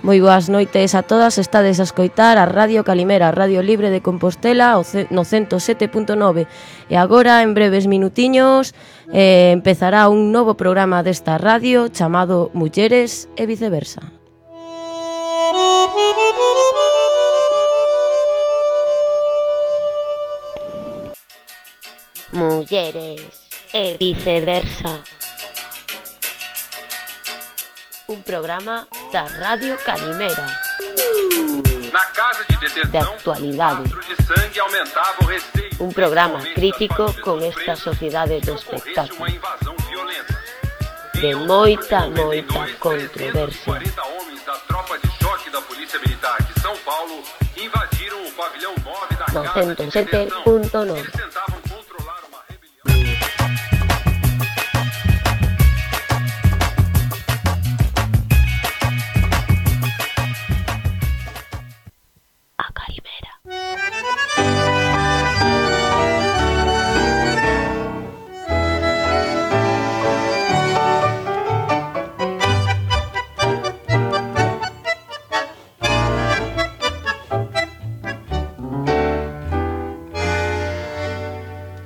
Moi boas noites a todas, estades a escoitar a Radio Calimera, Radio Libre de Compostela no 107.9. E agora, en breves minutiños, empezará un novo programa desta radio chamado Mulleres e Viceversa. Mulleres e Viceversa. Un programa da Radio Calimera. De actualidade. Un programa crítico con esta sociedade do espectáculo. De moita controversia. 107.9.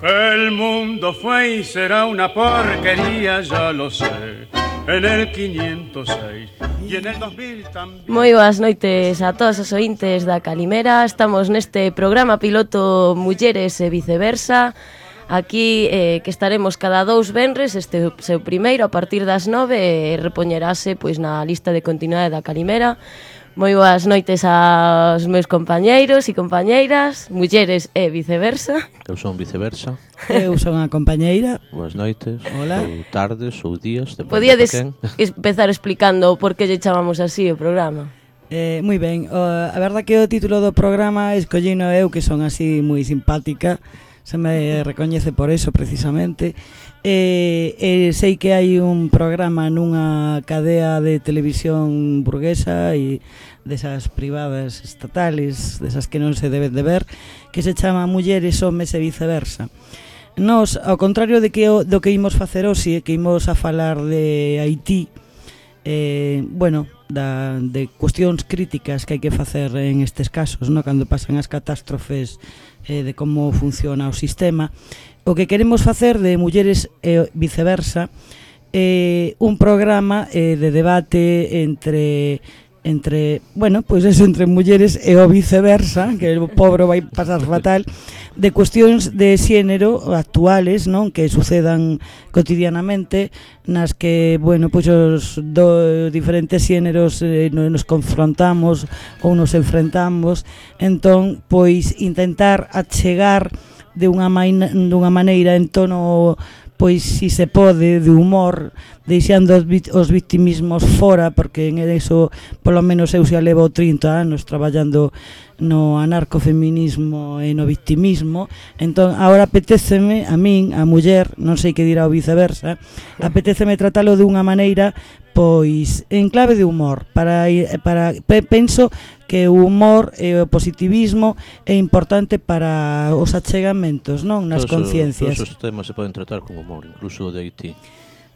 El mundo fue y será una porquería, ya lo sé. En el 506 y en el 2000 también. Moi boas noites a todos os ointes da Calimera. Estamos neste programa piloto Mulleres e Viceversa. Aquí que estaremos cada 2 venres, este seu primeiro a partir das 9 e repoñerase pois na lista de continuidade da Calimera. Moi boas noites aos meus compañeiros e compañeiras, mulleres e viceversa. Eu son Viceversa. Eu son a compañeira. Boas noites, hola. Ou tardes, ou días. Podíades empezar explicando por que lle chamamos así o programa? Moi ben, a verdad que o título do programa escollino eu, que son así moi simpática, se me recoñece por eso precisamente. Sei que hai un programa nunha cadea de televisión burguesa e desas privadas estatales, desas que non se deben de ver, que se chama Mulleres, Homes e Viceversa. Nos, ao contrario do que imos facer hoxe, que imos a falar de Haití, de cuestións críticas que hai que facer en estes casos, no? Cando pasan as catástrofes, de como funciona o sistema. O que queremos facer de Mulleres e Viceversa é un programa de debate entre mulleres e o viceversa, que o pobre vai pasar fatal, de cuestións de xénero actuales, non, que sucedan cotidianamente, nas que, os diferentes xéneros nos confrontamos ou nos enfrentamos. Entón, pois, intentar achegar de unha maneira en tono, pois, si se pode, de humor, deixando os victimismos fora, porque en eso, polo menos eu xa levo 30 anos traballando no anarcofeminismo e no victimismo. Entón, agora apetéceme, a min, a muller, non sei que dirá o viceversa, apetéceme tratalo de unha maneira, pois, en clave de humor, penso que o humor e o positivismo é importante para os achegamentos, non, nas conciencias. Todos os temas se poden tratar con humor, incluso o de Haití.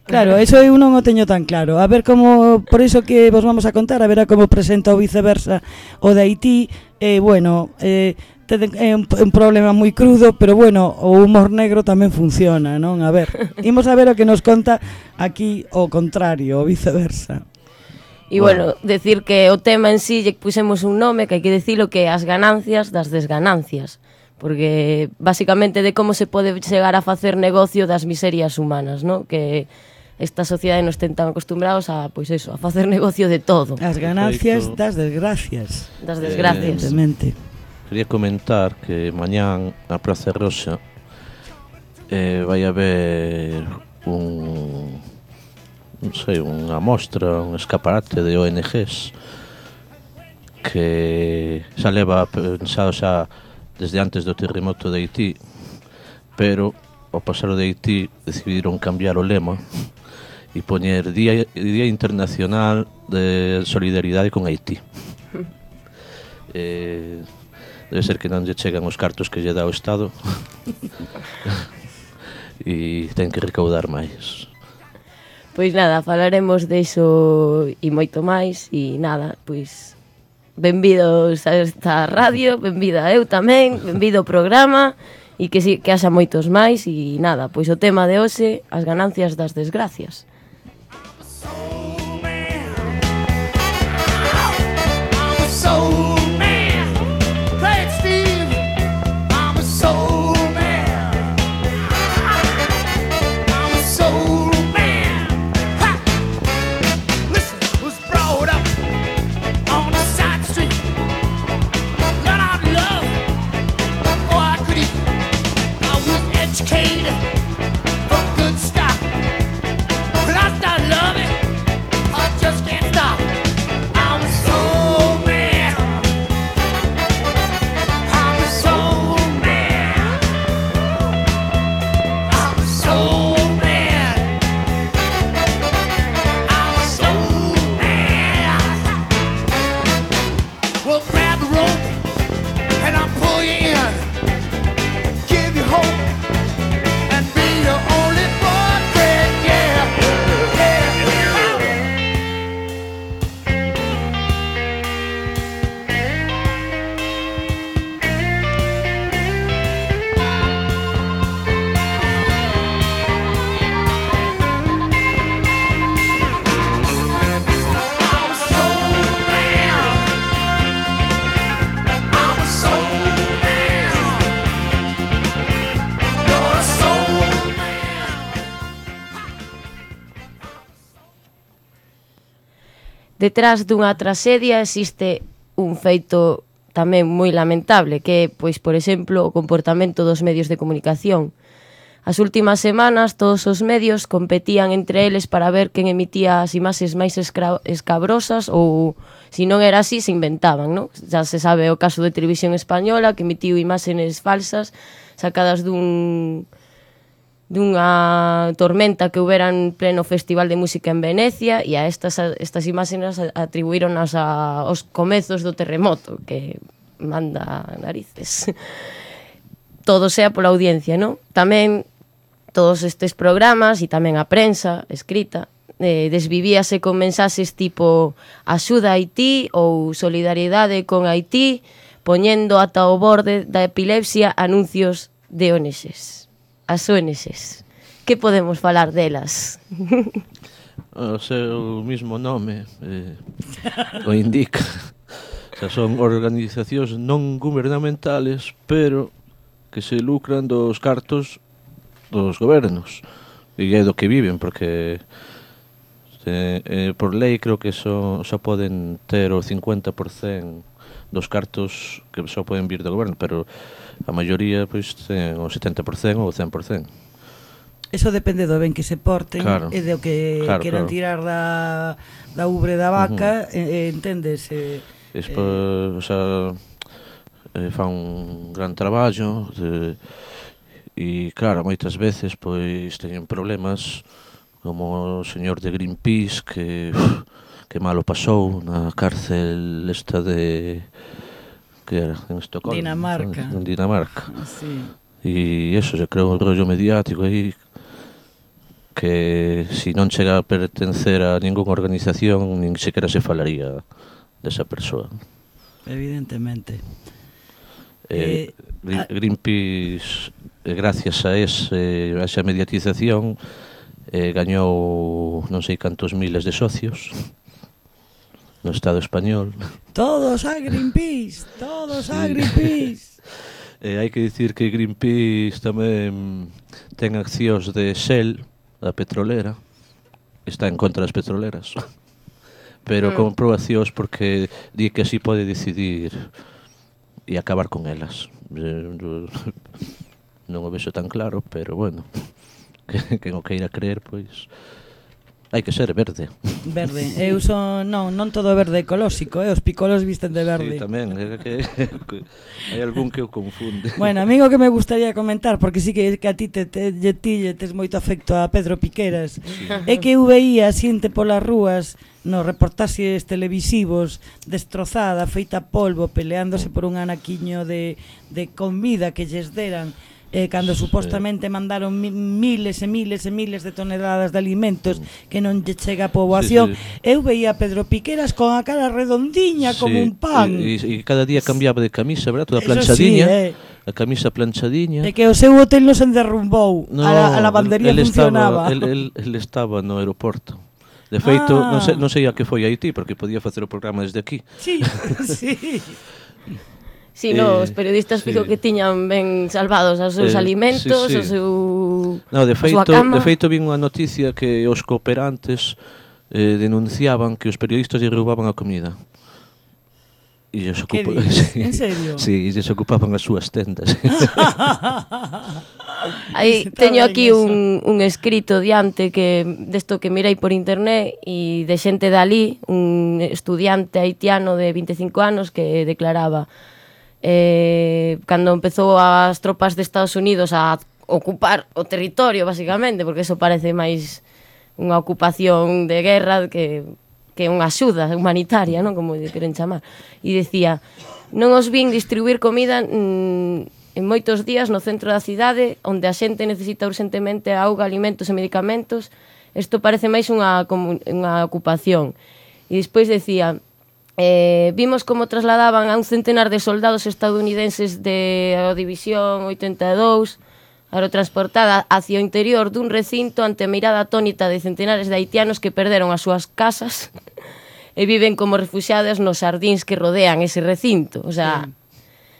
Claro, eso eu non o teño tan claro. A ver como, por iso que vos vamos a contar, a ver como presenta o Viceversa o de Haití. É un problema moi crudo, pero o humor negro tamén funciona, non? A ver, imos a ver o que nos conta aquí o contrario, o Viceversa. E decir que o tema en sí lle pusemos un nome que hai que dicilo, que é as ganancias das desganancias, porque basicamente de como se pode chegar a facer negocio das miserias humanas, non? Que esta sociedade nos ten tan acostumbrados a, pois eso, a facer negocio de todo. As ganancias das desgracias. Das desgracias. Quería comentar que mañán na Praza Roxa vai haber unha mostra, un escaparate de ONGs que xa leva pensado xa desde antes do terremoto de Haití, pero ao pasar de Haití decidiron cambiar o lema e poñer Día Internacional de Solidaridade con Haití. Debe ser que non lle chegan os cartos que lle dá o Estado e ten que recaudar máis. Pois nada, falaremos diso e moito máis. E nada, pois benvidos a esta radio, benvida eu tamén, benvido ao programa. E que haxa moitos máis. E nada, pois o tema de hoxe, as ganancias das desgracias. Detrás dunha traxedia existe un feito tamén moi lamentable, que é, pois, por exemplo, o comportamento dos medios de comunicación. As últimas semanas, todos os medios competían entre eles para ver quen emitía as imaxes máis escabrosas ou, se non era así, se inventaban, non? Já se sabe o caso de Televisión Española, que emitiu imaxes falsas sacadas dunha tormenta que houbera en pleno Festival de Música en Venecia, e a estas imaxes atribuíronas aos comezos do terremoto, que manda narices. Todo sea pola audiencia, non? Tamén todos estes programas e tamén a prensa escrita desvivíase con mensaxes tipo axuda a Haití ou solidariedade con Haití, poñendo ata o borde da epilepsia anuncios de ONGs. As ONGs. Que podemos falar delas? O seu mismo nome o indica. O sea, son organizacións non gubernamentales, pero que se lucran dos cartos dos gobernos. E é do que viven, porque por lei creo que só poden ter o 50% dos cartos que só poden vir do goberno, pero a maioría pois ten o 70% ou o 100%. Eso depende do ben que se porten, claro, e do que queran tirar da ubre da vaca, entendes? O sea, fan un gran traballo e claro, moitas veces pois teñen problemas, como o señor de Greenpeace que malo pasou na cárcel esta de que era en Estocolmo, Dinamarca. En Dinamarca. Sí. E eso se creou un rollo mediático aí que si non chega a pertencer a ningunha organización nin sequera se falaría desa persoa. Evidentemente. Greenpeace, gracias a esa mediatización, gañou non sei cantos miles de socios no Estado español. Todos a Greenpeace, todos a Greenpeace. Hai que dicir que Greenpeace tamén ten accións de Shell, da petrolera, está en contra das petroleras, pero con probacións porque di que así pode decidir e acabar con elas. Non o vexo tan claro, pero bueno, que non queira creer, pois hai que ser verde. Verde. Eu son, non todo verde ecolóxico, os picolos visten de verde. Sí, tamén, hai algún que o confunde. Bueno, amigo que me gustaría comentar, porque sí que a ti tes moito afecto a Pedro Piqueras, sí. É que eu veía xente polas rúas nos reportaxes televisivos destrozada, feita polvo, peleándose por un anaquiño de comida que lles deran, cando supostamente mandaron miles e miles e miles de toneladas de alimentos que non lle chega a poboación. Eu veía a Pedro Piqueras con a cara redondiña como un pan. E cada día cambiaba de camisa, verdad? Toda planchadiña. A camisa planchadiña. E que o seu hotel non se derrumbou, a lavandería funcionaba. Ele estaba no aeroporto. De feito, non sei a que foi a Haití, porque podía facer o programa desde aquí. Sí, sí. Si, os periodistas fijo que tiñan ben salvados os seus alimentos, o seu de feito vin unha noticia que os cooperantes denunciaban que os periodistas lle roubaban a comida. E eles en serio? Sí, eles ocupaban as súas tendas. Aí teño aquí un escrito diante que desto que mirei por internet e de xente dali, un estudiante haitiano de 25 anos que declaraba cando empezou as tropas de Estados Unidos a ocupar o territorio, basicamente, porque eso parece máis unha ocupación de guerra que unha axuda humanitaria, non, como lle queren chamar. E decía, non os vin distribuir comida en moitos días no centro da cidade, onde a xente necesita urgentemente auga, alimentos e medicamentos. Isto parece máis unha ocupación. E despois decía, vimos como trasladaban a un centenar de soldados estadounidenses de a División 82 aerotransportada hacia o interior dun recinto ante a mirada atónita de centenares de haitianos que perderon as súas casas e viven como refuxiadas nos xardíns que rodean ese recinto. O sea,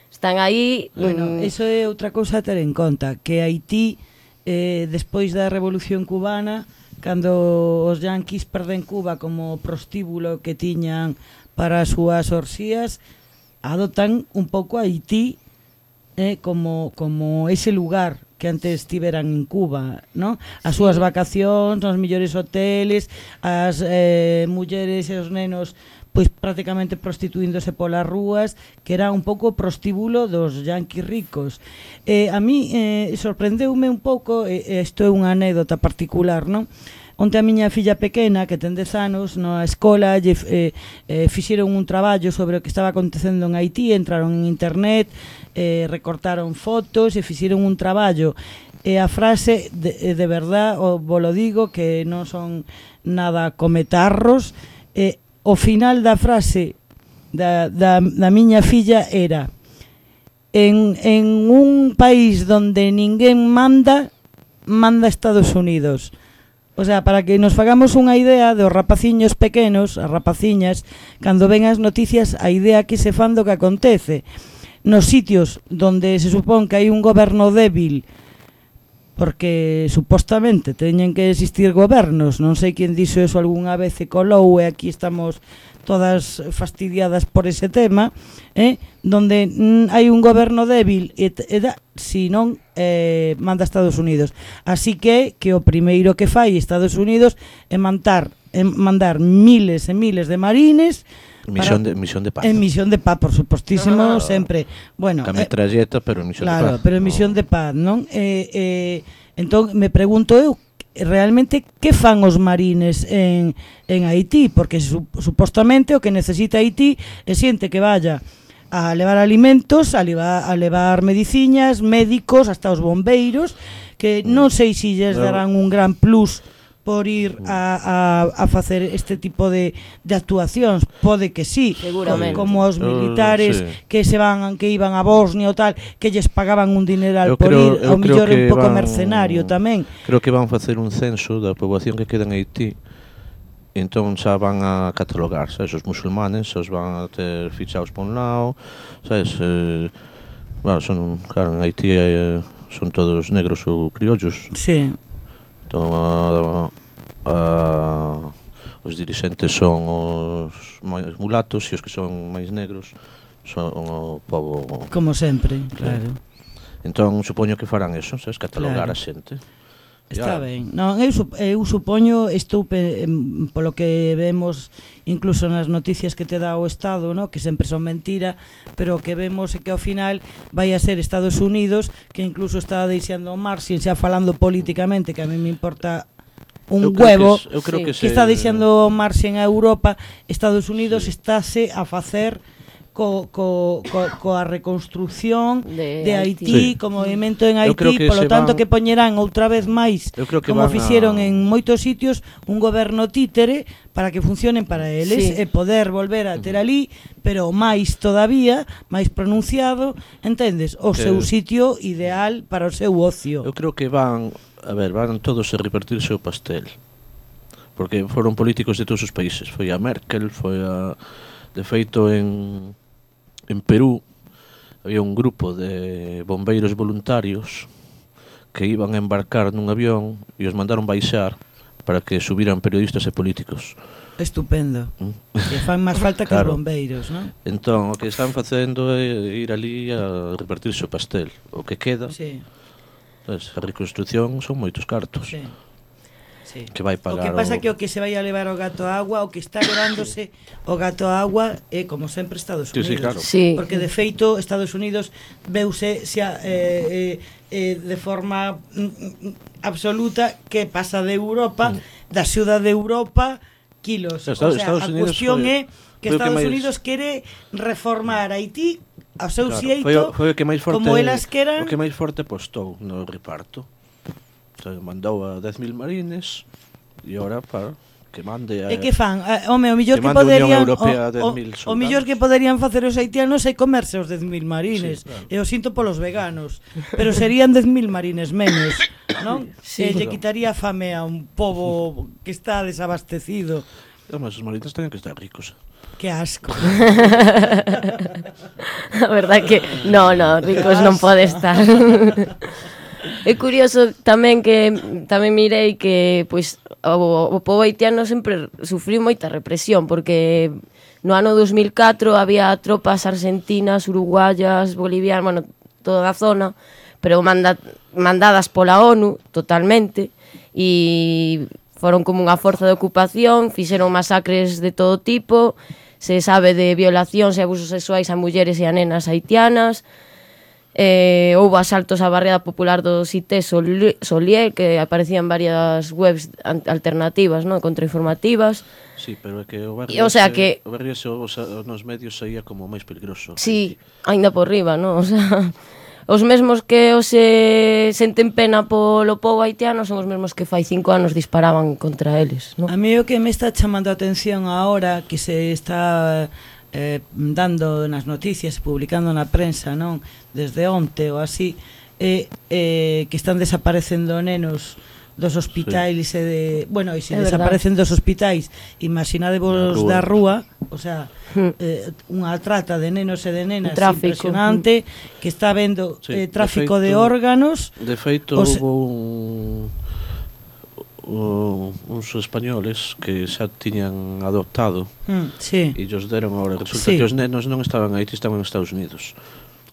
están aí... Bueno, eso é outra cousa a ter en conta, que Haití, despois da Revolución Cubana, cando os yanquis perden Cuba como prostíbulo que tiñan para as súas orxías, adoptan un pouco a Haití como ese lugar que antes tiveran en Cuba, ¿no? As súas vacacións, os mellores hoteles, as mulleres e os nenos pois prácticamente prostituíndose polas rúas, que era un pouco prostíbulo dos yanquis ricos. A mí sorprendeume un pouco, isto é unha anécdota particular, non? Onte a miña filla pequena, que ten 10 anos, na escola fixeron un traballo sobre o que estaba acontecendo en Haití, entraron en internet, recortaron fotos e fixeron un traballo. E a frase, de verdad, vos lo digo, que non son nada cometarros, o final da frase da miña filla era: en un país donde ninguén manda Estados Unidos. O sea, para que nos fagamos unha idea dos rapaciños pequenos, as rapaciñas, cando ven as noticias, a idea que se fan do que acontece. Nos sitios donde se supón que hai un goberno débil, porque supostamente teñen que existir gobernos, non sei quen dixo eso algunha vez e colou, e aquí estamos todas fastidiadas por ese tema, donde hai un goberno débil si non manda Estados Unidos. Así que o primeiro que fai Estados Unidos é mandar miles e miles de marines misión de paz. En misión de paz, por supostísimo, sempre. Bueno, metralleta, pero en misión de paz. Claro, pero en misión de paz, non? Entón, me pregunto eu, realmente, que fan os marines en Haití? Porque supostamente o que necesita Haití é xente que vaya a levar alimentos, a levar mediciñas, médicos, hasta os bombeiros, que non sei se lles darán un gran plus por ir a facer este tipo de actuacións. Pode que sí, seguramente, como os militares que iban a Bosnia ou tal, que lles pagaban un dineral por ir, ao mellor un pouco mercenario tamén. Creo que van facer un censo da poboación que queda en Haití, entón xa van a catalogar, sabes, os musulmanes os van a ter fichados por un lado, sabes, bueno, claro, en Haití son todos negros ou criollos. Sí. Entón, os dirixentes son os máis mulatos e os que son máis negros son o povo... Como sempre, claro. Entón, supoño que farán eso, sabes, catalogar a xente. Está ben. Non, eu supoño, polo que vemos incluso nas noticias que te dá o Estado, no? Que sempre son mentira, pero que vemos é que ao final vai a ser Estados Unidos, que incluso está deixando o Marxin, xa falando políticamente, que a mí me importa un huevo, que está deixando o Marxin a Europa. Estados Unidos estáse a facer coa reconstrucción de Sí. Haití, co movimento en Eu creo Haití, que polo se tanto van- que poñerán outra vez máis, Eu creo que como van fixeron a- en moitos sitios, un goberno títere para que funcionen para eles Sí. e poder volver a ter ali, pero máis todavía, máis pronunciado, entendes? O Que- seu sitio ideal para o seu ocio. Eu creo que van todos a repartirse o pastel. Porque foron políticos de todos os países. Foi a Merkel, de feito en Perú había un grupo de bombeiros voluntarios que iban a embarcar nun avión e os mandaron baixar para que subiran periodistas e políticos. Estupendo. Que fan máis falta que os Claro. bombeiros, non? Entón, o que están facendo é ir ali a repartirse o pastel. O que queda, Sí, pues, a reconstrucción son moitos cartos. sí. Sí. Que vai O pagar que pasa que o que se vai a levar o gato a agua, o que está levándose o gato a agua é, como sempre, Estados Sí, Unidos. sí, claro. Sí. Porque, de feito, Estados Unidos veuse xa, de forma absoluta que pasa de Europa, da xuda de Europa, kilos. Estados a Unidos cuestión foi- é foi o que que Estados máis- Unidos quere reformar Haití ao seu Claro, xeito, foi o que máis forte, como elas queran. o que máis forte postou no reparto. O sea, mandou a 10.000 marines e ora para que mande a... E que fan? Home, o millor Que que mande a Unión poderían Europea o 10.000 o millor que poderían facer os haitianos é comerse os 10.000 Sí, marines. claro. E o sinto polos veganos, pero serían 10.000 marines menos, non? Sí. E lle quitaría fame a un pobo que está desabastecido. Además, os marines teñen que estar ricos. Que asco. A verdad que no, ricos non pode estar. É curioso tamén que tamén mirei que pois o pobo haitiano sempre sufriu moita represión porque no ano 2004 había tropas argentinas, uruguayas, bolivianas, bueno, toda a zona, pero mandadas pola ONU totalmente e foron como unha forza de ocupación, fixeron masacres de todo tipo, se sabe de violacións e abusos sexuais a mulleres e a nenas haitianas. Houve asaltos á barriada popular do Cité Solier, que aparecían varias webs alternativas, non, contrainformativas. Sí, pero é que o barrio, O sea que- o barrio ese, nos medios saía como máis peligroso. Sí, aínda por riba, non? O sea, os mesmos que os senten pena polo pobo haitiano son os mesmos que fai 5 anos disparaban contra eles, non? A mí o que me está chamando a atención ahora que se está dando nas noticias, publicando na prensa, non, desde onte ou así, que están desaparecendo nenos dos hospitais e de, bueno, e se É desaparecen dos hospitais, imaginadevos Da da rúa, o sea, unha trata de nenos e de nenas Tráfico. impresionante, que está vendo Sí, de tráfico de feito- órganos. De feito, Os- houve uns españoles que xa tiñan adoptado Sí. e os deron ahora. Resulta Sí. que os nenos non estaban aí, estaban en Estados Unidos.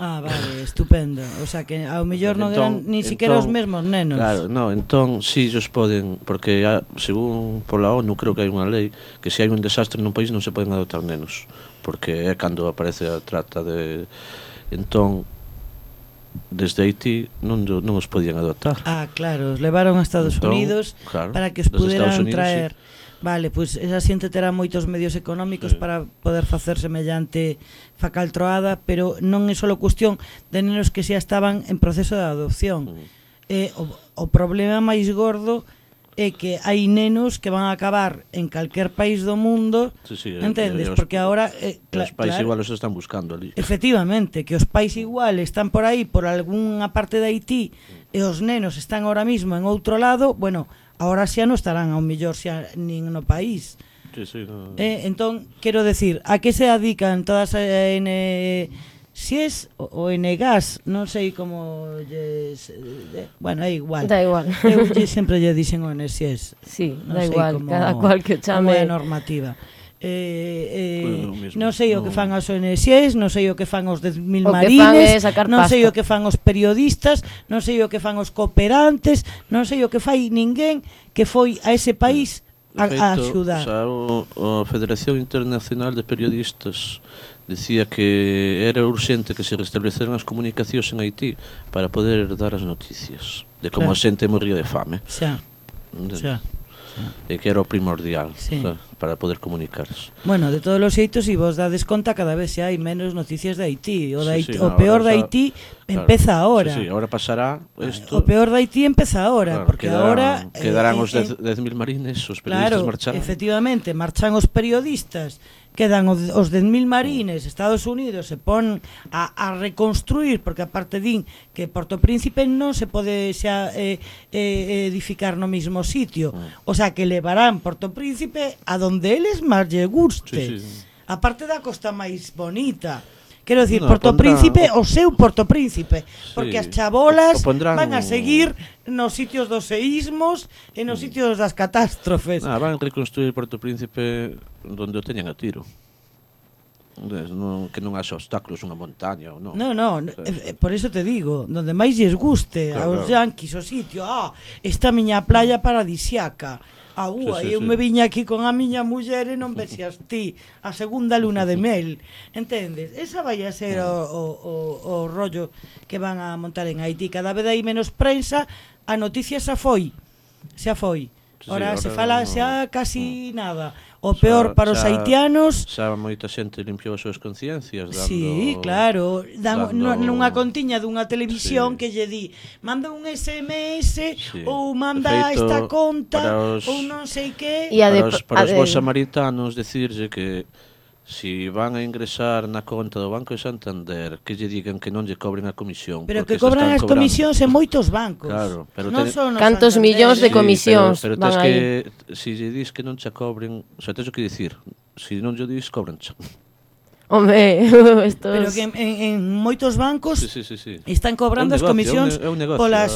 Ah, vale, estupendo. O sea que ao mellor non eran ni siquiera os mesmos nenos. Claro, no, entón si ellos poden, porque según pola ONU creo que hai unha lei que se hai un desastre nun país non se poden adoptar nenos, porque é cando aparece a trata de... Entón, desde Haití non os podían adoptar. Ah, claro, os levaron a Estados Entón, Unidos claro, para que os desde Estados puderan Unidos, traer. Vale, pois esa xente terá moitos medios económicos Sí. para poder facer semellante facaltroada, pero non é só cuestión de nenos que xa estaban en proceso de adopción. O problema máis gordo é que hai nenos que van a acabar en calquer país do mundo, Sí, sí, entendes? os- Porque agora Os pais igual os están buscando ali. efectivamente, que os pais igual están por aí por algunha parte de Haití e os nenos están ahora mismo en outro lado, bueno, agora xa non estarán ao mellor xa nin no país. Sí, sí, no. Entón, quero decir, a que se dedican todas SIES ou NGAS, non sei como bueno, é igual. Da igual. Eu sempre lle dixen o NSIES. Sí, Non da sei igual, como- cada cual que o como é a chame. normativa. Bueno, mismo, Non sei o que fan as ONGs, non sei o que fan os 10.000 O que fan marines, é sacar non sei pasta. o que fan os periodistas, non sei o que fan os cooperantes, non sei o que fai ninguén que foi a ese país a axudar. O sea, a Federación Internacional de Periodistas decía que era urxente que se restableceran as comunicacións en Haití para poder dar as noticias de como Claro. a xente morría de fame. Xa, Entende? xa. E que era o primordial. Sí. O sea, para poder comunicarse. Bueno, de todos os xeitos, se vos dades conta, cada vez se hai menos noticias de Haití. O, Sí, sí, o peor de ahora Haití claro, empeza ahora. Sí, ahora pasará isto. O peor de Haití empeza ahora, Claro, porque ahora... quedarán os 10.000 marines, os periodistas claro, marchan. efectivamente, marchan os periodistas, quedan os 10.000 marines, Estados Unidos se pon a reconstruir, porque aparte din que Porto Príncipe non se pode xa edificar no mismo sitio, o sea que levarán Porto Príncipe a donde eles máis lle guste, Sí, sí. aparte da costa máis bonita. Quero dicir, No, Porto pondrán Príncipe, o seu Porto Príncipe, porque Sí, as chabolas o pondrán van a seguir nos sitios dos seísmos e nos sitios das catástrofes. Van a reconstruir Porto Príncipe donde o teñan a tiro. Que non haxa obstáculos, unha montaña ou non. No, por eso te digo, donde máis lles guste Claro, aos yanquis o sitio, esta miña playa paradisiaca. Sí, eu me viña aquí con a miña muller e non vexas ti a segunda luna de mel, entendes? Esa vai a ser o rollo que van a montar en Haití. Cada vez hai menos prensa, a noticia xa foi. Ora se fala xa casi nada. O peor para os haitianos. Xa moita xente limpiou as súas conciencias dando. Sí, claro, nunha contiña dunha televisión que lle di, manda un SMS ou manda esta conta ou non sei que. Para os bons samaritanos decirlle que si van a ingresar na conta do Banco de Santander, que lle digan que non lle cobren a comisión. Pero que cobran as comisións en moitos bancos. Claro, pero cantos millóns de comisións pero van aí. Si lle dis que non che cobren, o sea, tens que dicir, si non lle dis, cobranche. Home, estos... Pero que en moitos bancos sí. están cobrando as comisións polas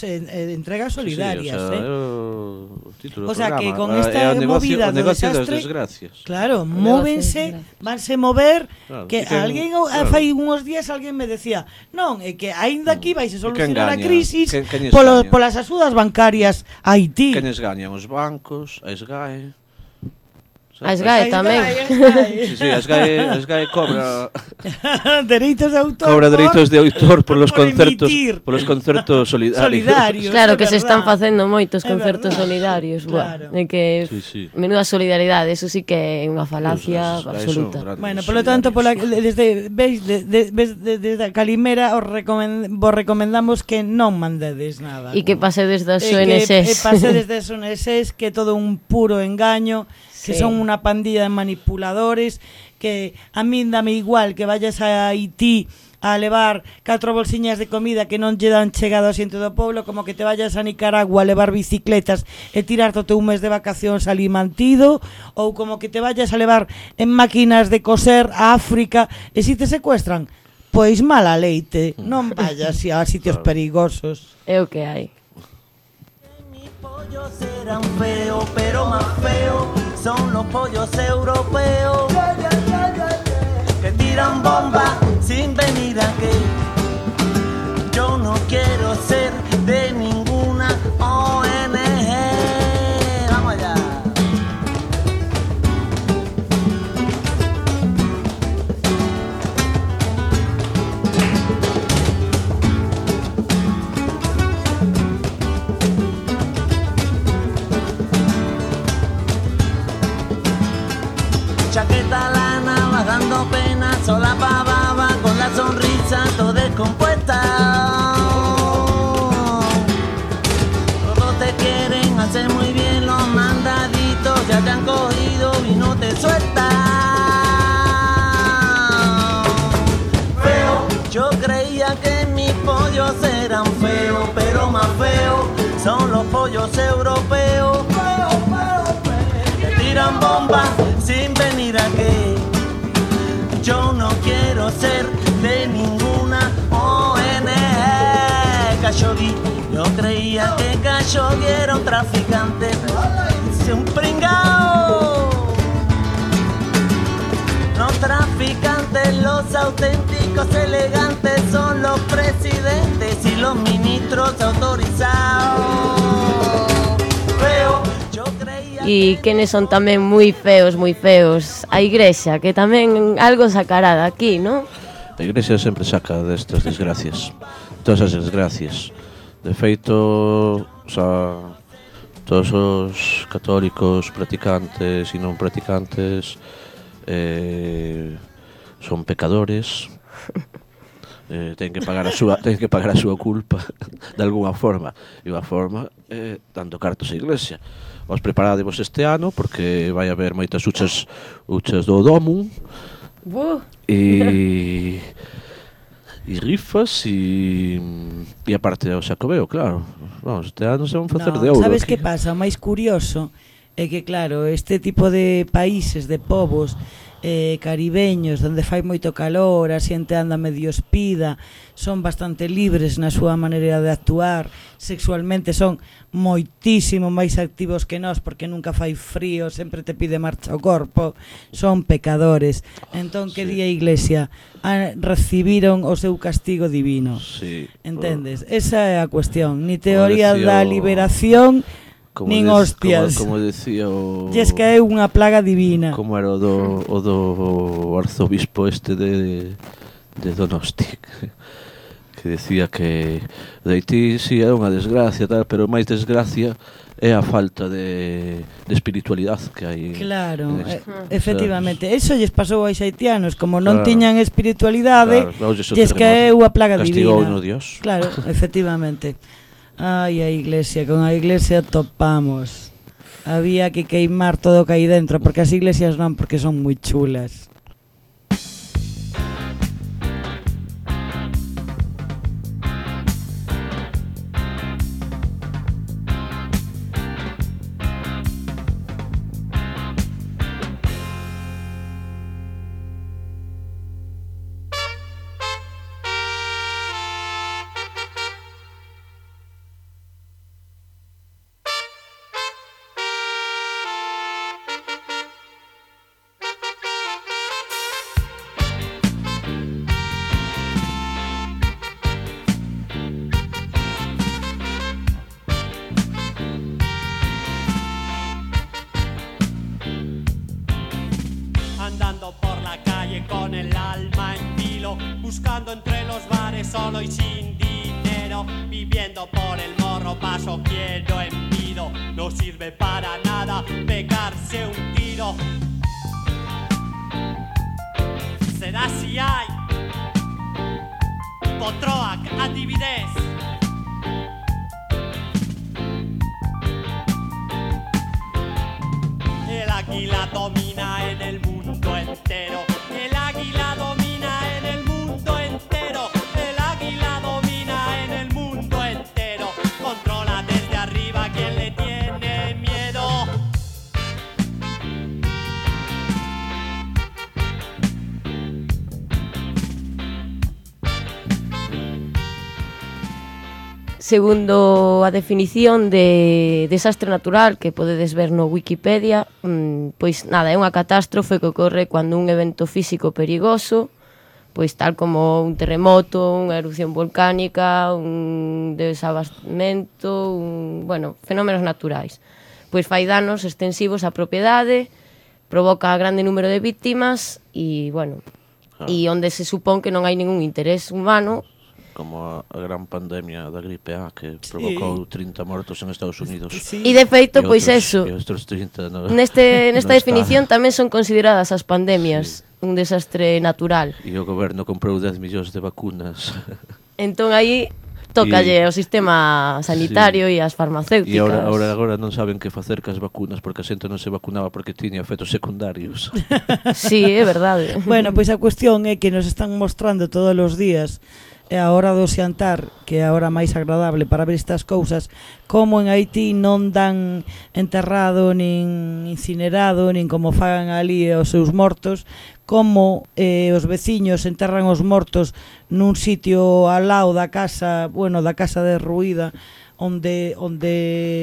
entregas Sí, solidarias, o sea, o título do sea programa. que con esta movida do desastre, desgracias. claro, móvense, vanse mover, claro, que alguén fai uns días alguén me decía, non, é que aínda aquí vai se solucionar a crisis polas axudas bancarias a Haití. Quenes gañan os bancos, a SGAE. A SGAE tamén. Sí, a SGAE cobra dereitos de autor. Cobra dereitos de autor polos concertos solidarios. Claro que se están facendo moitos concertos solidarios, claro. É que menuda solidaridade, eso sí que é unha falacia absoluta. Bueno, polo tanto, desde a Calimera vos recomendamos que non mandedes nada. E que pasedes das ONGs. Que pasedes das ONGs, que todo un puro engaño, que son unha pandilla de manipuladores, que a min dame igual que vayas a Haití a levar 4 bolsiñas de comida que non lle dan chegado ao asiento do pueblo, como que te vayas a Nicaragua a levar bicicletas e tirarte o teu mes de vacacións ali mantido, ou como que te vayas a levar en máquinas de coser a África e si te secuestran, pois mala leite, non vayas a sitios perigosos. É o que hai. Pollos serán feos, pero más feos son los pollos europeos que tiran bombas sin venir aquí. Yo no quiero ser de ninguna ONG. Vamos allá. Chaqueta lana, vas dando pena, sola pavaba, con la sonrisa todo descompuesta. Todos te quieren hacer muy bien, los mandaditos ya te han cogido y no te sueltan. Feo, yo creía que mis pollos eran feos, pero más feos son los pollos europeos que tiran bombas sin venir aquí. Yo no quiero ser de ninguna ONG. Khashoggi, yo creía que Khashoggi era un traficante, es un pringao. Los traficantes, los auténticos elegantes son los presidentes y los ministros autorizados. Feo. E quenes son tamén moi feos, a Igrexa, que tamén algo sacará de aquí, non? A Igrexa sempre saca destas desgracias, todas as desgracias. De feito, todos os católicos practicantes e non practicantes son pecadores. Ten que pagar a súa culpa de alguna forma, e unha forma dando cartos á iglesia. Vos preparadevos este ano porque vai haber moitas uchas do Domum e rifas e aparte o Xacobeo, claro. Vamos, este ano se van facer de ouro. Sabes aquí. que pasa? O máis curioso é que, claro, este tipo de países, de povos caribeños, onde fai moito calor, a xente anda medio espida, son bastante libres na súa maneira de actuar, sexualmente son moitísimo máis activos que nós, porque nunca fai frío, sempre te pide marcha o corpo, son pecadores. Entón, que di a Iglesia? Recibiron o seu castigo divino. Sí. Entendes? Esa é a cuestión. Ni teoría da liberación, nin hostias. Como decía o... E es que é unha plaga divina. Como era o do arzobispo este de Donosti, que decía que de Haití sí é unha desgracia, tal, pero máis desgracia é a falta de espiritualidade que hai. Claro, efectivamente. Eso lles pasou aos haitianos, como non tiñan espiritualidade, e es que é unha plaga divina. Castigou no Dios. Claro, efectivamente. Ai, a Iglesia, con a Iglesia topamos. Había que queimar todo o que hai dentro, porque as iglesias non, porque son moi chulas. Andando por la calle con el alma en vilo, buscando entre los bares solo y sin dinero, viviendo por el morro, paso quiero en pido, no sirve para nada pegarse un tiro. Será si hay Potroac, Antividez. El águila domina en el mundo entero. El águila domina en el mundo entero. El águila domina en el mundo entero. Controla desde arriba quien le tiene miedo. Segundo a definición de desastre natural que podedes ver no Wikipedia, pois nada, é unha catástrofe que ocorre cando un evento físico perigoso, pois tal como un terremoto, unha erupción volcánica, un desabastamento, fenómenos naturais. Pois fai danos extensivos á propiedade, provoca grande número de víctimas e, e onde se supón que non hai ningún interés humano. Como a gran pandemia da gripe A que provocou 30 mortos en Estados Unidos. E de feito, pois eso, nesta definición tamén son consideradas as pandemias un desastre natural. E o goberno comprou 10 millóns de vacunas. Entón aí tócalle ao sistema sanitario e ás farmacéuticas. E agora non saben que facer cas vacunas porque a xente non se vacunaba porque tiña efectos secundarios. Sí, é verdade. Bueno, pois a cuestión é que nos están mostrando todos os días e a hora do xantar, que é a hora máis agradable para ver estas cousas, como en Haití non dan enterrado, nin incinerado, nin como fagan ali os seus mortos, como os veciños enterran os mortos nun sitio ao lado da casa, da casa derruída, onde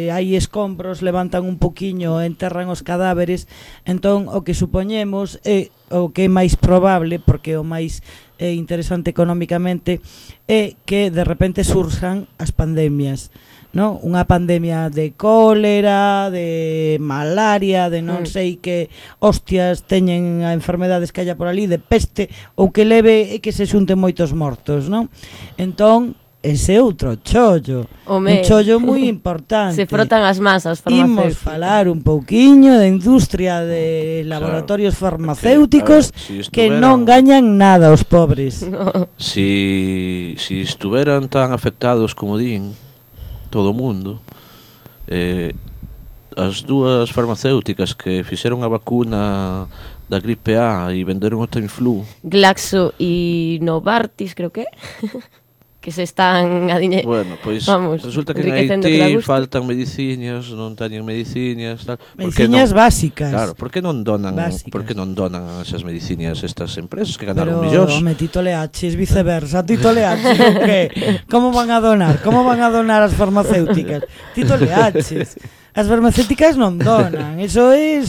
hai escombros, levantan un poquiño, enterran os cadáveres. Entón, o que supoñemos é o que é máis probable, porque o máis interesante económicamente, é que de repente surjan as pandemias, non? Unha pandemia de cólera, de malaria, de non sei que hostias teñen a enfermedades que haya por ali, de peste, ou que leve e que se xunten moitos mortos, non? Entón, ese outro chollo. Home. Un chollo moi importante. Se frotan as masas Imos farmacéuticas. falar un pouquiño da industria de laboratorios farmacéuticos porque, a ver, si que estuveran- non gañan nada os pobres. Si estuveran tan afectados como din todo o mundo, as dúas farmacéuticas que fixeron a vacuna da gripe A e venderon o Tamiflu, Glaxo e Novartis, creo que que se están bueno, pois vamos, resulta que en enriquecendo Haití que da gusto. faltan medicinas, non teñen medicinas, tal. Por que Mediciñas non- básicas. Claro, por que non donan, Básicas. por que non donan esas medicinas estas empresas que Pero, ganaron millóns? home, Tito Leaches, viceversa, Tito Leaches, o que? Como van a donar? Como van a donar as farmacéuticas? Tito Leaches. As farmacéuticas non donan, eso é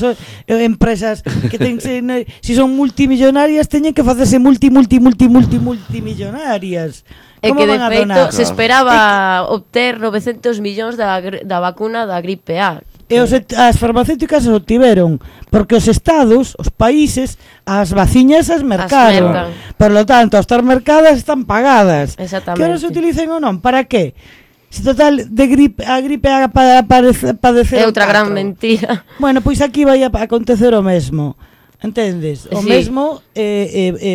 empresas que ten si son multimillonarias teñen que facerse multimillonarias. É Como que de van a feito donar? se esperaba obter 900 millóns da vacuna da gripe A. E as farmacéuticas os obtiveron porque os estados, os países, as vaciñas as mercaron. mercan. Por lo tanto, ao estar mercadas están pagadas. Exactamente. Que ahora se utilicen ou non? Para que? Se total de a gripe A para padecer É outra gran mentira. Bueno, pois aquí vai a acontecer o mesmo. Entendes? O Sí. mesmo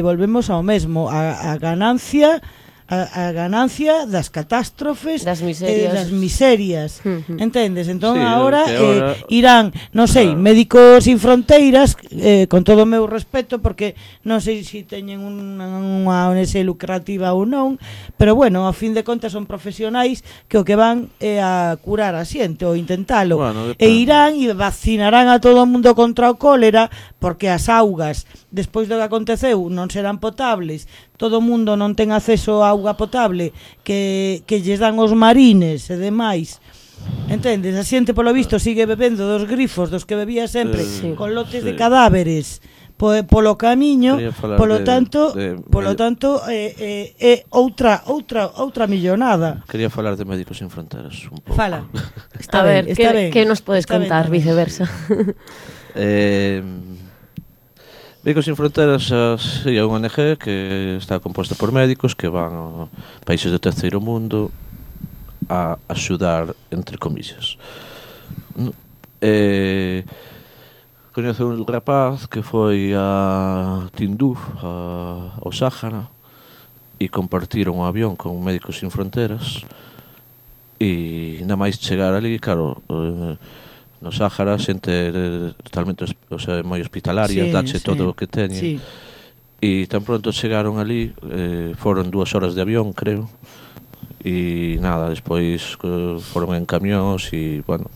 volvemos ao mesmo, a ganancia a ganancia das catástrofes, Das miserias. das miserias. Ujú. Entendes? Entón Sí, agora, que agora- irán, non sei, Claro. Médicos Sin Fronteiras, con todo o meu respeto, porque non sei se teñen unha ONG lucrativa ou non, pero bueno, a fin de contas son profesionais que o que van é a curar a xente ou intentalo. Bueno, E depende. irán e vacinarán a todo o mundo contra o cólera, porque as augas, despois do que aconteceu, non serán potables, todo o mundo non ten acceso a auga potable que lles dan os marines e demais. Entendes? A xente polo visto sigue bebendo dos grifos dos que bebía sempre, Sí. con lotes Sí. de cadáveres polo camiño, Quería falar polo de- tanto, de- outra millonada. Quería falar de Médicos Sin Fronteras un pouco. Fala. A ver, está ben. que nos podes Está ben contar, tamén. viceversa? Médicos Sin Fronteras é unha ONG que está composta por médicos que van a países do terceiro mundo a axudar, entre comillas. Coñezo un rapaz que foi a Tinduf, ao Sáhara, e compartiron un avión con Médicos Sin Fronteras, e nada máis chegar ali, claro, no Sáhara xente totalmente moi hospitalaria, Sí, dache sí. todo o que teñen. Sí. E tan pronto chegaron ali, foron 2 horas de avión, creo, e nada, despois foron en camións e, bueno,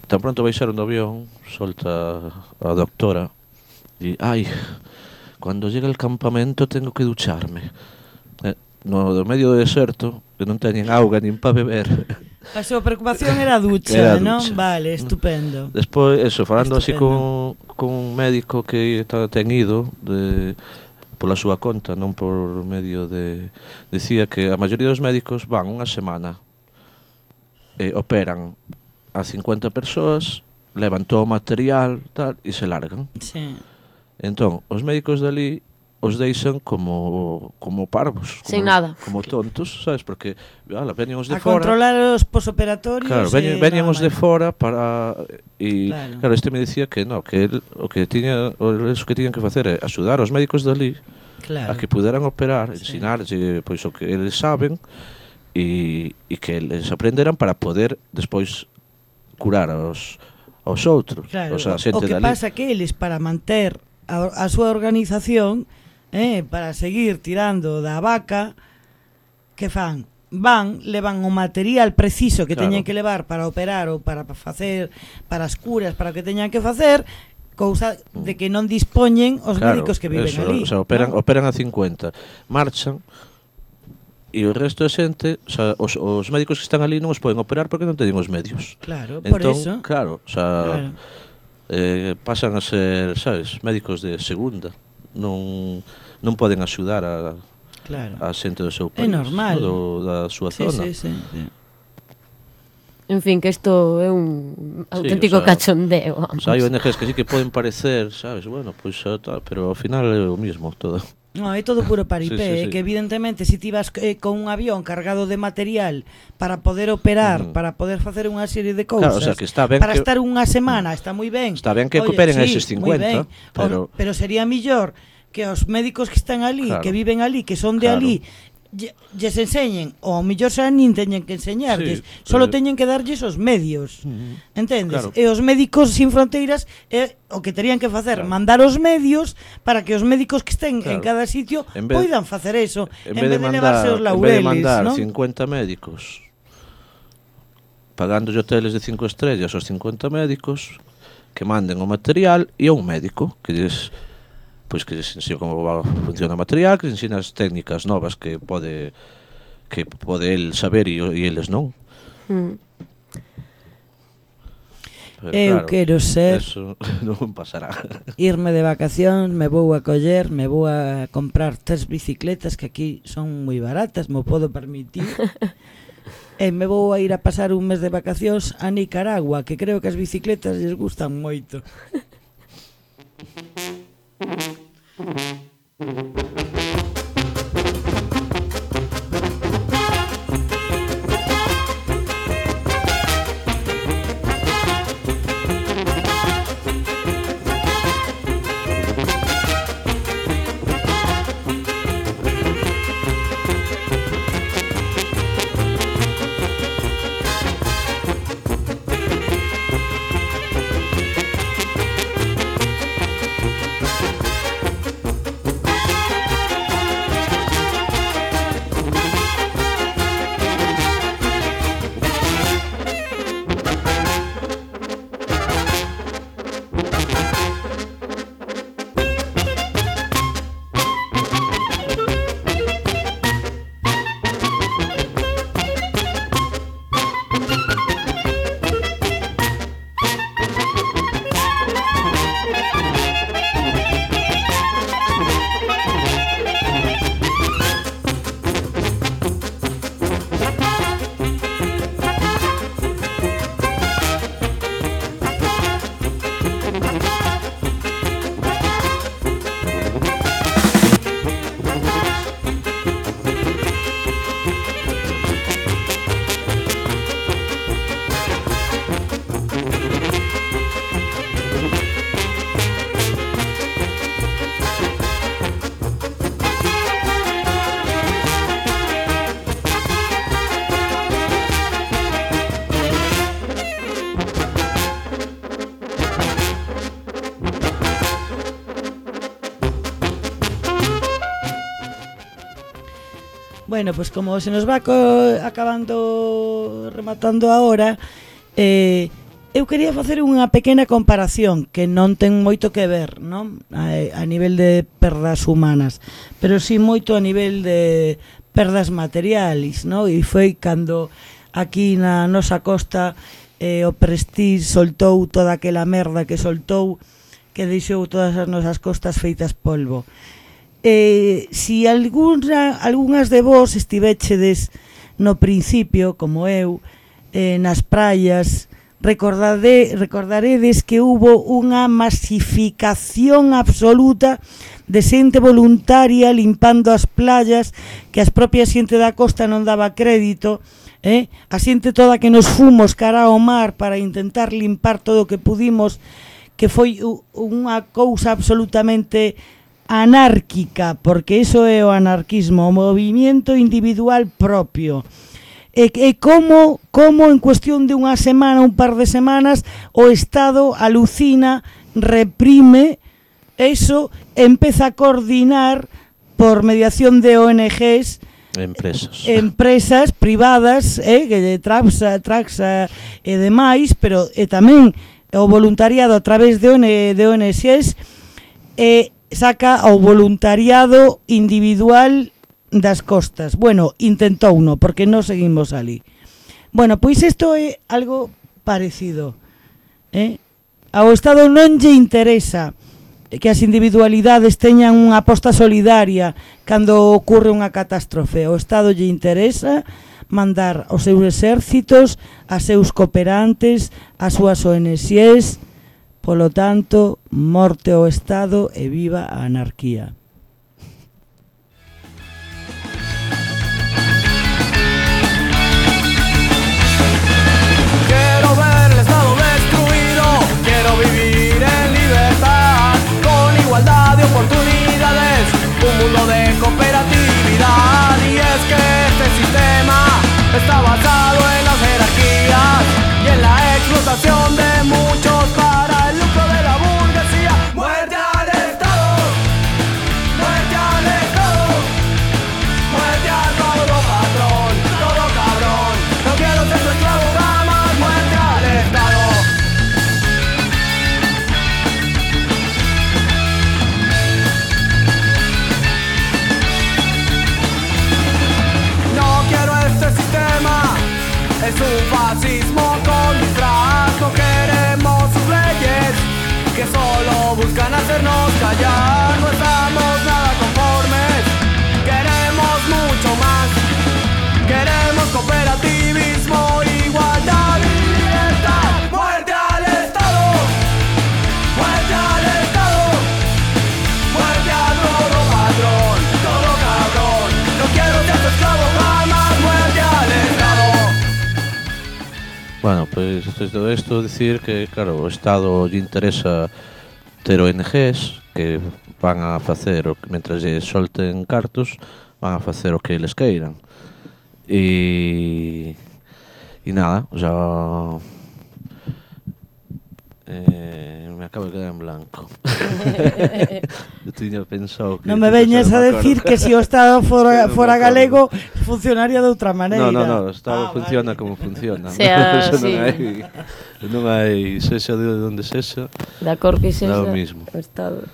tan pronto baixaron do avión, solta a doctora e, ai, cando llega el campamento tengo que ducharme. No medio do deserto, que non teñen auga nin para beber. A súa preocupación era a ducha, Era a non? ducha. Vale, estupendo. Despois, eso, falando así Estupendo. con un médico que ten ido pola súa conta, non por medio de... Dicía que a maioría dos médicos van unha semana, operan a 50 persoas, levan todo o material tal, e se largan. Sí. Entón, os médicos dali os deixan como parvos, Sin nada. como tontos, sabes? Porque veñen os de A fora. controlar os posoperatorios. Claro, veñen os de fora para e Claro. claro, este me dicía que no, que el, o que tiñan que facer é axudar aos médicos dali Claro. a que puderan operar, Sí. ensinarlle pois o que eles saben e que eles aprenderan para poder despois curar aos outros, Claro, o sea, a xente o que dali. pasa que eles para manter a súa organización, para seguir tirando da vaca, que fan? Levan o material preciso que Claro. teñen que levar para operar ou para facer, para as curas, para o que teñan que facer, cousa de que non dispoñen os médicos que viven eso, ali. o sea, operan ¿no? a 50, marchan e o resto de xente, o sea, os médicos que están ali non os poden operar porque non teñen os medios. Claro, por Entón, eso. claro, o sea, Claro. pasan a ser, sabes, médicos de segunda. Non poden axudar a Claro. xente do seu É país, normal. da súa Sí, zona. sí. En fin, que isto é un auténtico o sea, cachondeo, O vamos. sea, hai ONGs que sí que poden parecer, sabes, bueno, pois tal, pero ao final é o mismo todo. No, é todo puro paripé, Sí. que evidentemente se ti vas con un avión cargado de material para poder operar, para poder facer unha serie de cousas, Claro, o sea, que está ben para que... estar unha semana, está moi ben. Está ben que Oye, cooperen sí, eses moi 50, ben. pero Sería millor que os médicos que están ali, Claro. que viven ali, que son de Claro. ali, lles enseñen, ou mellor xa nin teñen que enseñarlles, Sí, solo pero- teñen que darlles os medios. Entendes? Claro. E os médicos sin fronteiras o que terían que facer, Claro. mandar os medios para que os médicos que estén en Claro. cada sitio En vez- poidan facer eso, en vez de levarse os mandar laureles, ¿no? 50 médicos pagando hoteles de 5 estrellas aos 50 médicos, que manden o material e a un médico que lles ensina como funciona o material, que lles ensina as técnicas novas que pode el saber e eles non. Pero, Eu quero ser eso non pasará. irme de vacacións, me vou a coller, me vou a comprar 3 bicicletas que aquí son moi baratas, me podo permitir. E me vou a ir a pasar un mes de vacacións a Nicaragua, que creo que as bicicletas lles gustan moito. Bueno, pues como se nos va rematando a hora, eu quería facer unha pequena comparación que non ten moito que ver, non? A nivel de perdas humanas, pero sí moito a nivel de perdas materiais, non? E foi cando aquí na nosa costa o Prestige soltou toda aquela merda que soltou, que deixou todas as nosas costas feitas polvo. Si algunhas de vos estivechedes no principio, como eu, nas praias, recordaredes que hubo unha masificación absoluta de xente voluntaria limpando as playas, que as propias xente da costa non daba crédito, a xente toda que nos fomos cara ao mar para intentar limpar todo o que pudimos, que foi unha cousa absolutamente anárquica, porque iso é o anarquismo, o movimiento individual propio. E como en cuestión de unha semana, un par de semanas, o Estado alucina, reprime, eso empeza a coordinar por mediación de ONGs, empresas privadas, Traxa e demais, pero tamén o voluntariado a través de ONGs, saca ao voluntariado individual das costas. Bueno, intentouno, porque non seguimos ali. Bueno, pois isto é algo parecido. Ao Estado non lle interesa que as individualidades teñan unha aposta solidaria cando ocurre unha catástrofe. Ao Estado lle interesa mandar os seus exércitos, a seus cooperantes, as súas ONGs. Polo tanto, morte ao Estado e viva a anarquía. racismo con disfraz. No queremos sus leyes que solo buscan hacernos callar. No estamos nada conformes, queremos mucho más. Queremos cooperativismo, igualdad y libertad. ¡Muerte al Estado! ¡Muerte al Estado! ¡Muerte a todo patrón! ¡Todo cabrón! ¡No quiero ser tu esclavo jamás! ¡Muerte al Estado! Bueno, pois despois de todo isto dicir que, claro, o Estado lle interesa ter ONGs que van a facer, mentras lle solten cartos, van a facer o que eles queiran. E nada, o sea, me acabo de quedar en blanco. Eu tiña pensado que... Non me veñes a decir que se o Estado fora galego funcionaría de outra maneira. No, o Estado funciona como funciona. Sea, Eso sí. non hai sexa de onde sexa. Da cor que sexa, Dá o mismo. o Estado.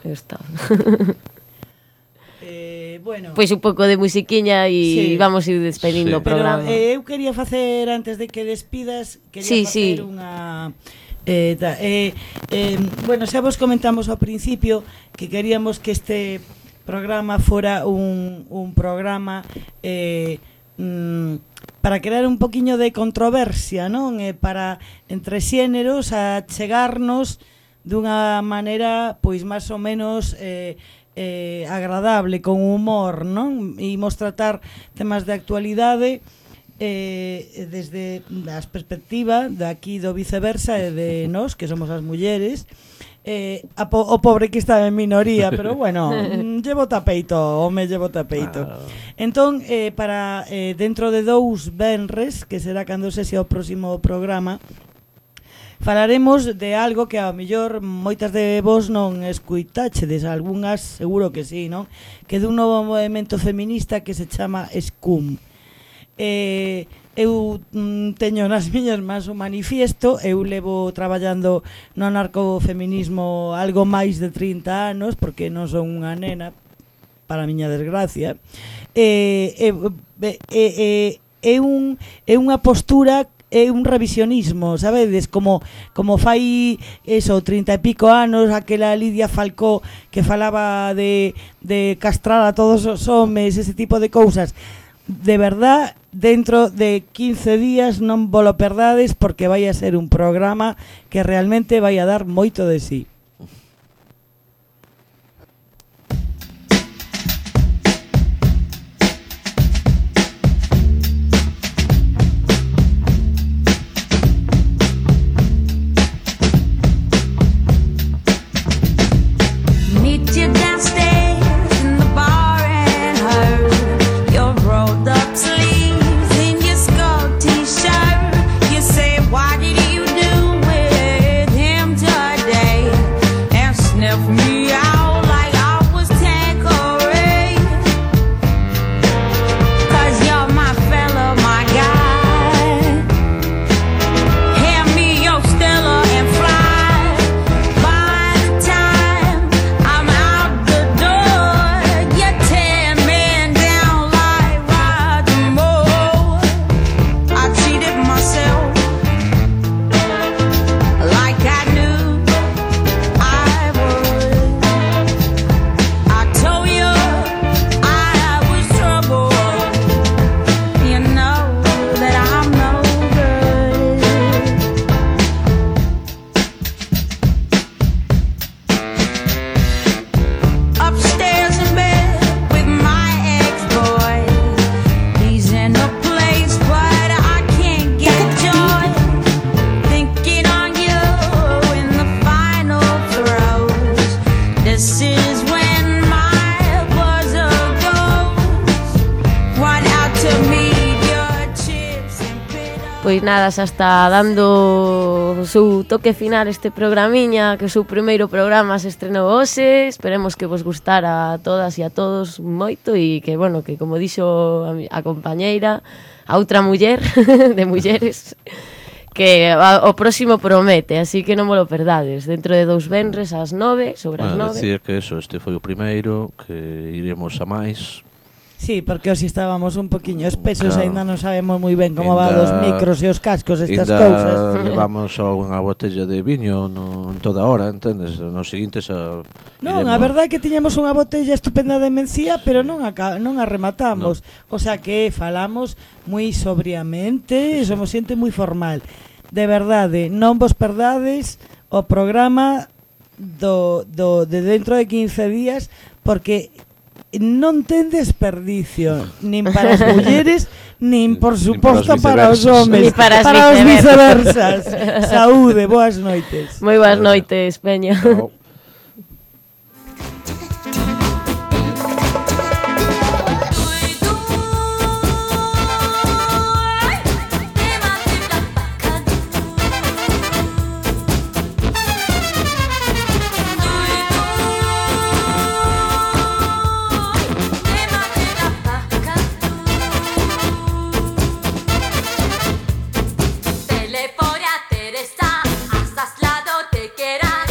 Bueno, Pois un pouco de musiquiña e Sí. vamos ir despedindo Sí. o programa. Pero eu quería facer, antes de que despidas, quería Sí, facer sí. unha... bueno, xa vos comentamos ao principio que queríamos que este programa fora un programa para crear un poquiño de controversia, non? Para entre xéneros a chegarnos dunha maneira pois máis ou menos agradable, con humor, non? E imos tratar temas de actualidade desde as perspectiva de aquí do viceversa e de nós, que somos as mulleres, o pobre que está en minoría, pero bueno, llevo tapeito, home, llevo tapeito. Entón, para dentro de 2 venres, que será cando sexa o próximo programa, falaremos de algo que ao mellor moitas de vos non escuitachedes, algunhas seguro que sí, non? Que de un novo movemento feminista que se chama SCUM. Eu teño nas miñas mans un manifiesto, eu levo traballando no anarcofeminismo algo máis de 30 anos, porque non son unha nena, para a miña desgracia. É unha postura, é un revisionismo, sabedes, como fai eso, 30 e pico anos, aquela Lidia Falcó que falaba de castrar a todos os homes, ese tipo de cousas. De verdad, dentro de 15 días non volo perdades, porque vai a ser un programa que realmente vai a dar moito de sí. Pois nada, xa está dando o seu toque final este programiña, que o seu primeiro programa se estrenou hoxe. Esperemos que vos gustara a todas e a todos moito e que, bueno, que como dixo a compañeira, a outra muller de mulleres, que o próximo promete, así que non me lo perdades. Dentro de 2 venres ás 9, sobre as 9. Decir que eso, este foi o primeiro, que iremos a máis. Sí, porque hoxe estábamos un poquinho espesos, Claro. ainda non sabemos moi ben como va Ainda- dos micros e os cascos, estas Ainda cousas. levamos só unha botella de viño en toda hora, entendes? Nos seguintes Non, a verdade é que tiñamos unha botella estupenda de mencía, pero non a rematamos. O sea que falamos moi sobriamente, somos xente moi formal. De verdade, non vos perdades o programa de dentro de 15 días, porque non ten desperdicio, nin para as mulleres, nin por Nin suposto para para os os homes, Nin para as os viceversas. viceversas. Saúde, boas noites. Moi boas noites, Peña. Chao. Telefonia Teresa, hasta lado te quieras.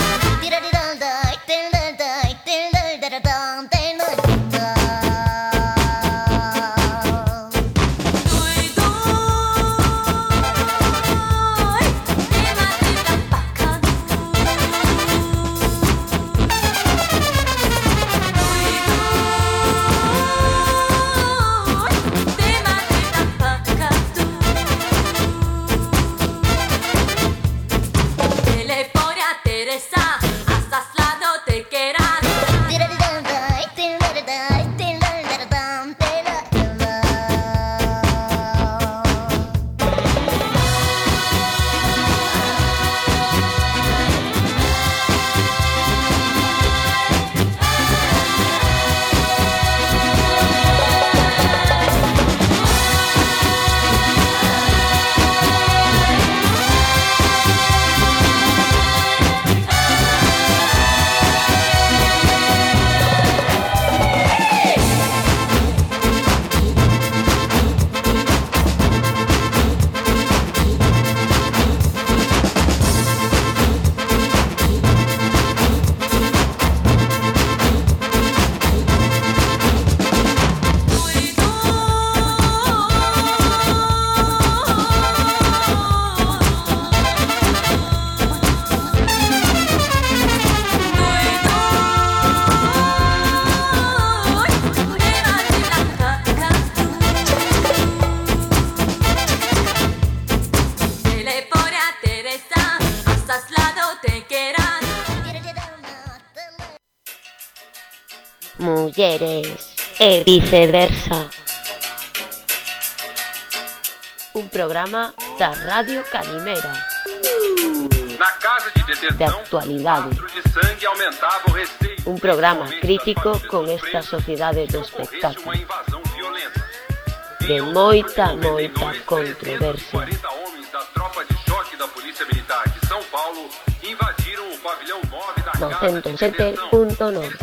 Telefonia Teresa, hasta lado te quieras. Telefonia Teresa, hasta lado te quieras. Mulleres e viceversa. Un programa da Radio Calimera, Na casa de de detenção, actualidade. litro de sangue aumentava o receio. Un programa Principalmente crítico das famílias con dos esta presos, sociedade do se ocorresse espectáculo, uma invasão violenta. de Em moita, outubro de moita 92, controversia. 340 homens da tropa de choque da Polícia Militar de São Paulo invadiram o pavilhão 9 da casa de detenção. 107.9. Eles